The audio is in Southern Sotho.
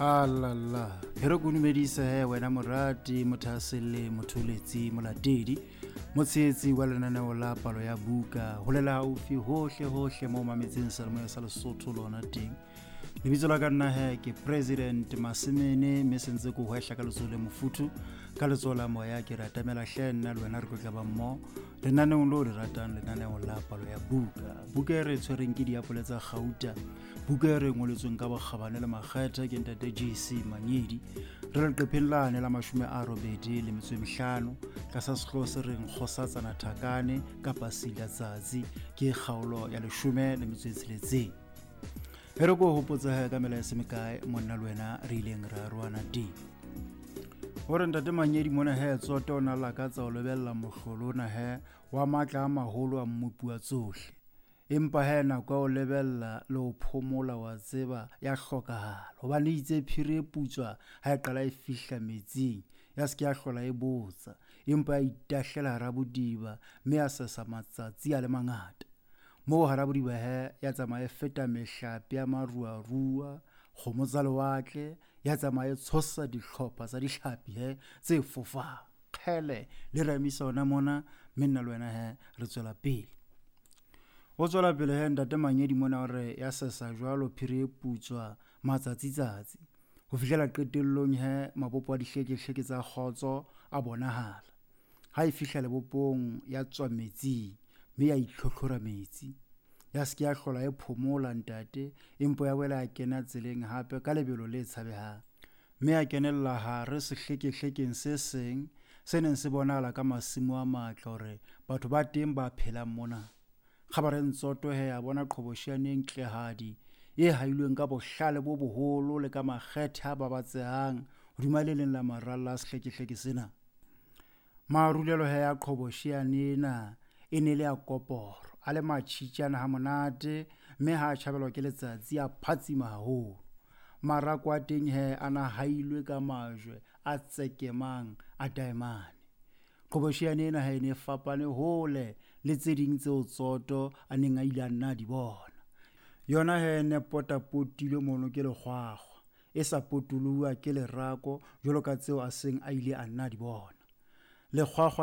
Alala e re ko dumedise he wena morati, mothahaselle, motholetsi, molatedi, motshehetsi wa lenaneo la Palo ya Buka, holela haufi hohle hohle mo mametseng seyalemoya sa Lesotho lona teng. Lebitso la ka nna he ke President Masemene, mme sentse ko hwehla ka letsoho le mofuthu, ka letsoho la moya ke re atamela hle nna le wena re tlo tla ba mmoho lenaneong leo le ratang, lenaneo la Palo ya Buka. Buka e re tshwereng ke Diapole tsa Gauta, buka e re ngoletsweng ka bokgabane le makgetha ke ntate JC Manyedi. Re leqepheng lane la 85 tlasa sehlooho se reng Kgosatsana Thakane kapa Silatsatsi, ke kgaolo ya 16. E re ko hopotsa ka mela e se mekae monna le wena re ileng ra arohana teng. Hore ntate Manyedi mona he tsoto o na lakatsa ho lebella mohlolo ona he wa matla a maholo a mmopi wa tsohle. Empa he nako ya ho lebella le ho phomola wa tseba ya hlokahala, hobane itse phiri e putswa ha e qala e fihla metsing, ya se ke ya hlola e botsa, empa ya itahlela hara bodiba mme ya sesa matsatsi a le mangata. Moo hara bodiba he ya tsamaya e feta mehlape ya maruarua, kgomo tsa lewatle, ya tsamaya e tshosa dihlopha tsa dihlapi he tse fofang. Kgele le ramisa ona mona, mme nna le wena he re tswela pele. O tswela pele he ntate Manyedi mona hore ya sesa jwalo phiri e putswa matsatsi-tsatsi ho fihlela qetellong he mabopo a dihlekehleke tsa kgotso a bonahala. Ha e fihla lebopong ya tswa metsing mme ya itlhotlhora metsi, ya se ke ya hlola e phomola ntate, empa ya boela ya kena tseleng hape ka lebelo le tshabehang, mme ya kenella hare sehlekehlekeng se seng se neng se bonahala ka masimo a matle hore batho ba teng ba phelang mona. Kgabareng Tsoto he a bona qhobosheane e ntlehadi e hailweng ka bohlale bo boholo le ka makgethe a babatsehang hodima le leng la maralla a sehlekehleke sena. Marulelo he a qhobosheane ena e ne le a koporo, a le matjhitjana ha monate, mme ha a tjhabelwa ke letsatsi a phatsima haholo. Marako a teng he a na hailwe ka majwe a tsekemang a daemane. Qhobosheane ena ha e ne e fapane hole le tse ding tseo Tsoto a neng a ile a nna a di bona. Yona he ne potapotilwe mono ke lekgwakgwa, e sa potoloha ke lerako jwalo ka tseo a seng a ile a nna a di bona. Lekgwakgwa